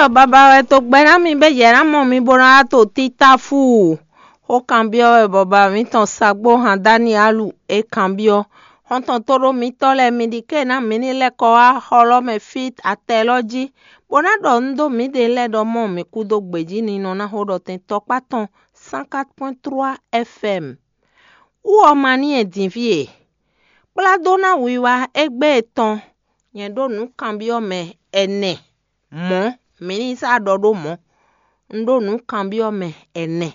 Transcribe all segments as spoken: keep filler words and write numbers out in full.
Ɖɔ baba wɛ to gbɛ ná mi bɛ yɛ ná mɔ mi bó ná wá to títáfú. Xó kanbyɔ́ wɛ bɔ baba mǐtɔn Sagbó han Danielu é kanbyɔ́. Xɔ́ntɔn tóɖó mitɔ́ lɛ́ɛ, mi ɖi ké ná mǐ ní lɛ́ kɔ wá xɔ lɔ́ mɛ fí atɛ lɔ́ jí, bó ná ɖɔ nǔ dó mǐɖée lɛ́ɛ ɖɔ mɔ mǐ kú dó gbějí ninɔ ná xó ɖɔ tɛn tɔkpá tɔn cent quatre point trois F M. Wú ɔ́ ma ní e dǐnví e, kplá dó ná wiwa égbé tɔn. Nyɛ ɖó nǔ kanbyɔ́ mɛ ɛnɛ mɔ̌, mǐ ní sá ɖɔ ɖó mɔ̌. Un ɖó nǔ kanbyɔ́ mɛ ɛnɛ,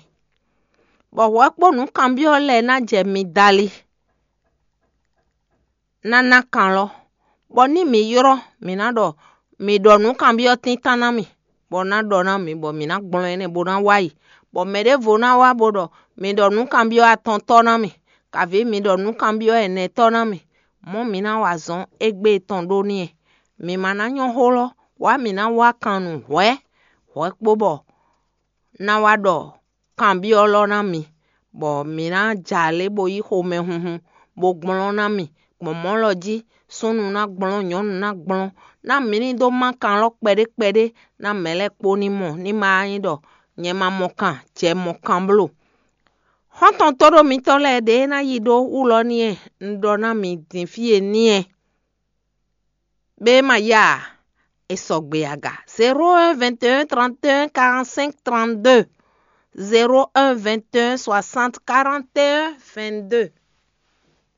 bɔ hwɛ̌ kpó nǔ kanbyɔ́ lɛ́ɛ ná jɛ mi dali ná ná kan lɔ, bɔ ní mǐ ylɔ́, mǐ ná ɖɔ mǐ ɖɔ nǔ kanbyɔ́ tíntan ná mì, bɔ ná ɖɔ ná mǐ, bɔ mǐ ná gblɔ́n énɛ́ bó ná wá yi, bɔ mɛ ɖěvo ná wá bó ɖɔ mǐ ɖɔ nǔ kanbyɔ́ atɔntɔ́ ná mì, kaví mǐ ɖɔ nǔ kanbyɔ́ ɛnɛtɔ́ ná mì, mɔ̌ mǐ ná wa azɔn égbé tɔn ɖó n'i. Mǐ ma ná nyɔ́ xó lɔ́, wǎ mǐ ná wá kan nǔ hwɛ̌, hwɛ̌ kpó bɔ ná wá ɖɔ kanbyɔ́ lɔ́ ná mi, bɔ mǐ ná jɛ alě bó yí xomɛhunhun, bó gblɔ́n ná mi, gbɔn mɔ̌ lɔ jí, súnnu ná gblɔ́n, nyɔ̌nu ná gblɔ́n, ná mǐ ní dó má kan lɔ́ kpɛɖé kpɛɖé, ná mɛ̌ lɛ́ɛ kpó ní mɔ, ní ma nyí ɖɔ nyɛ ma mɔ kan, jɛ mɔ kan bló. Xɔ́ntɔn tóɖó mitɔn lɛ́ɛ ɖě ná yi ɖó wú lɔ n'i e un ɖɔ ná mi din fí e n'i e. Bema ya, e sɔgbe aga. Zéro un vingt et un trente et un quarante-cinq trente-deux, zéro un vingt et un soixante quarante et un vingt-deux.